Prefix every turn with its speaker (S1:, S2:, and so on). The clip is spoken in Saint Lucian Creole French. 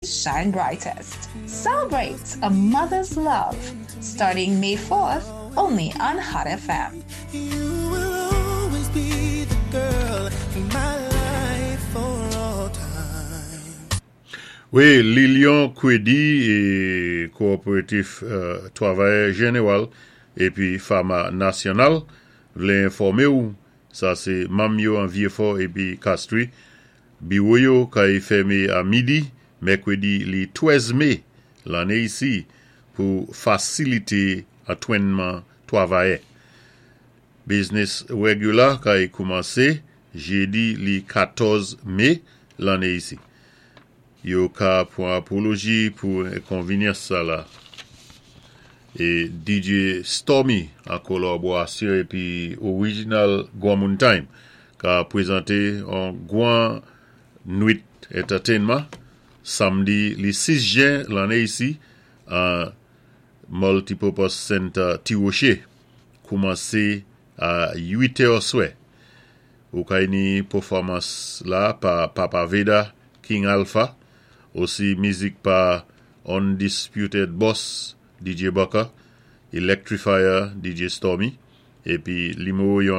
S1: Shine brightest. Celebrate a mother's love starting May 4th only on Hot FM.
S2: You will always be the girl in my life for all time.
S3: Wi, Lilion Kwedi é Kowopératif Twavayè Jénéwal épi Fama Nasyonal vlé enfòmé ou, sa sé manm yo an Vyéfò épi Castries, biwo yo kay fèmé a midi, mèkwédi li 13 mé lanné isi pou fasilité antwénman twavayè. Biznis wégila kay koumansé jédi li 14 mé lanné isi. Yo ka pwan apoloji pou enkonvinyans sa la. É DJ Stormy an kolaborasyon épi Original Gwanmoun Time ka pwézanté an gwan nwit entertainment samdi li 6 jen lanné isi an Multipurpose Center Ti Woché koumansé a 8 è swè. Ou kay ni pèfòmans la pa Papa Veda, King Alpha, osi mizik pa Undisputed Boss, DJ Bucker, Electrifier, DJ Stormy, épi niméwo yon.